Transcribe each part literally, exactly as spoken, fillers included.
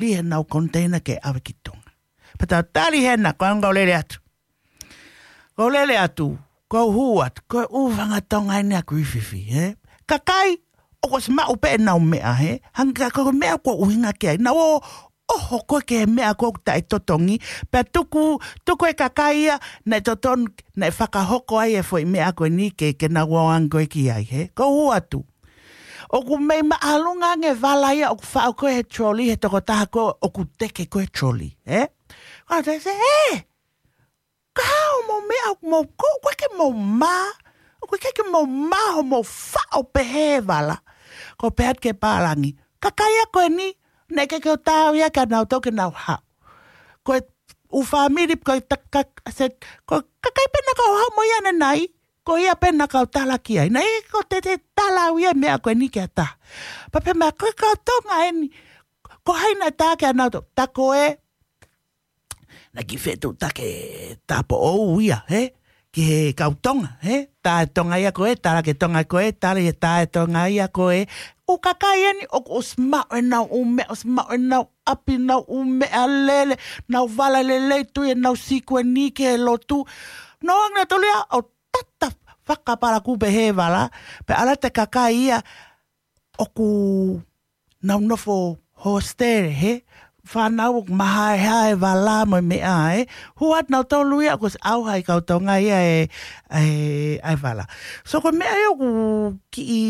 lī heʻenau container ke ʻave ki Tonga. Pea tau tali hena, ko ʻeku lele atu. Ko e lele atu, ko e hū atu, ko e ʻū fanga Tonga eni ʻa Griffith, he? Kakai, ʻoku ʻosi maʻu pē ʻenau meʻa, he? Hangē ko e meʻa ʻoku ʻuhinga ki ai. Nau ō, ʻoho ko ē ki he meʻa ko ē ʻoku taʻetotongi. Pea tuku, tuku e kakai ia, naʻe totonu, naʻe fakahoko ai e foʻi meʻa ko eni ke, ke nau ō ange ko ē ki ai, he? Ko e hū atu. ʻOku mei māʻolunga ange e vala ia, ʻoku faʻo ko ē he trolley, he tokotaha ko ē, ʻoku teke ko ē trolley, he? Ko e te se, he! Ka hoʻomou meʻa ʻoku mou kō, ʻoku ʻikai ke mou mā, ʻoku ʻikai ke mou mā hoʻomou faʻo pehē e vala. Ko e pehē atu ki he pālangi. Kakai ia ko eni, naʻe ʻikai ke u taau ia kia nautolu ke nau haʻu. Ko e ʻū fāmili, ko e ta-, ka-, se, ko e kakai pē naʻa ku haʻu mo ia ʻanenai, ko ia pē naʻa ku tala ki ai. Naʻe ʻikai ke u te, te tala au ia e meʻa ko eni ki ha taha. Pea pehē mai, ko e kau Tonga eni, ko hai naʻe tā kia nautolu, tā ko ē, naʻe kiʻi fetuʻutaki e tāupoʻou ia, he? Ki he kau Tonga, he? Tā e Tonga ia ko ē, tala ki he Tonga ko ē, tala ia tā e Tonga ia ko ē. ʻŪ kakai eni, ʻoku ʻosi maʻu ʻenau ʻū meʻa, ʻosi maʻu ʻenau ʻapi, ʻenau ʻū meʻalele, ʻenau vala lelei, tui ʻenau sikueni ki he lotu. Nau ō ange nautolu ia ʻo tata fakapalaku pehē e vala, pea ʻalu atu e kakai ia, ʻoku nau nofo hostel, he? Fānau ʻoku mahaehae e vala mo e meʻa, he? Hū atu nautolu ia ʻoku ʻosi ʻauha ʻe he kau Tonga ia e, e, ʻa e vala. So ko e meʻa ia ʻoku kiʻi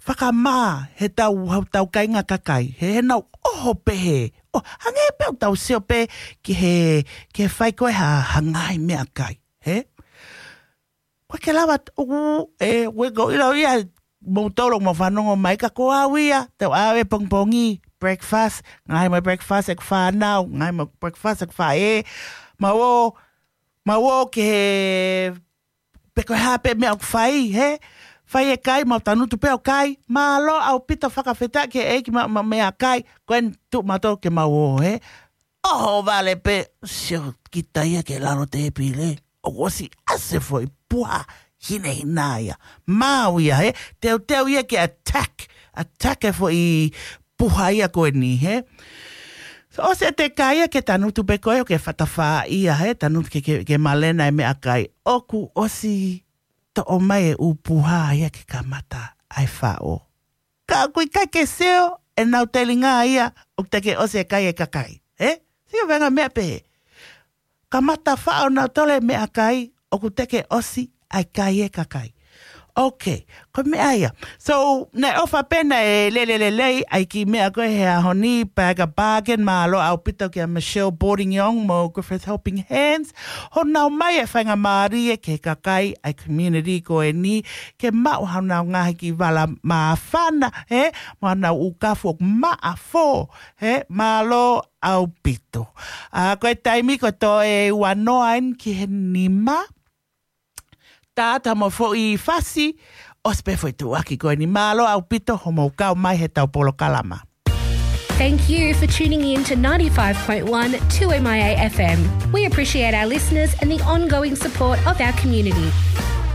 fakamā heʻetau, heʻetau kāinga kakai, he, heʻenau ʻoho pehē. ʻO, hangē pē ʻoku tau sio pē ki he, ki he fai ko ē ha, ha ngaahi meʻakai, he? Ko e ke lava t-, ʻū, e, ʻū e ko ʻilo ia, moutolu ʻoku mou fanongo mai ka ko au ia, tau ʻave pongipongi, breakfast, ngaahi mo e breakfast ʻeku fānau, ngaahi mo e breakfast ʻeku faʻē, mau ō, mau ō ki he, pe ko e hā pē meʻa ʻoku fai, he? Fai e kai, mau tangutu pē ʻo kai, mālō ʻaupito fakafetaʻi ki he ʻEiki ma, ma meʻakai, ko eni tuʻu mautolu ke mau ō, he? ʻOho vale pē, sio kita ia ki lalo tēpile. ʻOku ʻosi ʻasi e foʻi puha hinehina ia. Maau ia, he? Teuteu ia ke attack. Attack e foʻi puha ia ko eni, he? So, ʻosi e teka ia ke tangutu pē ko ē, ke fatafa ia, he? Tangutu ke, ke, ke malena e meʻakai. ʻOku ʻosi toʻo mai e ʻū puha ia ke kamata ʻa e faʻo. Ka ʻoku ʻikai ke sio ʻenau telinga ia ʻoku teʻeki ʻosi e kai e kakai. He? Sio venga meʻa pehē. Kamata faʻo nautolu e meʻakai ʻoku teʻeki ʻosi ʻa e kai e kakai. Okay, ko e meʻa ia. So, naʻe ʻofa pē naʻe lele lelei ʻa e kiʻi meʻa ko ē he ʻaho ni, pea ka bargain, mālō ʻaupito kia Michelle Boarding Young mo Griffith Helping Hands. Hono ʻomai e faingamālie ki he kakai ʻa e community ko eni, ke maʻu honau ngaahi kiʻi vala māfana, he, mo honau ʻū kafu ʻoku maʻa fō, he, mālō ʻaupito. ʻA, ko e taimi ko e toe ua noa eni ki he nima. Tātā mo e foʻi fasi, ʻosi pē foʻi tuʻuaki ko eni, mālō ʻaupito hoʻomou kau mai heʻetau polokalama. Thank you for tuning in to ninety-five point one two M I A F M. We appreciate our listeners and the ongoing support of our community.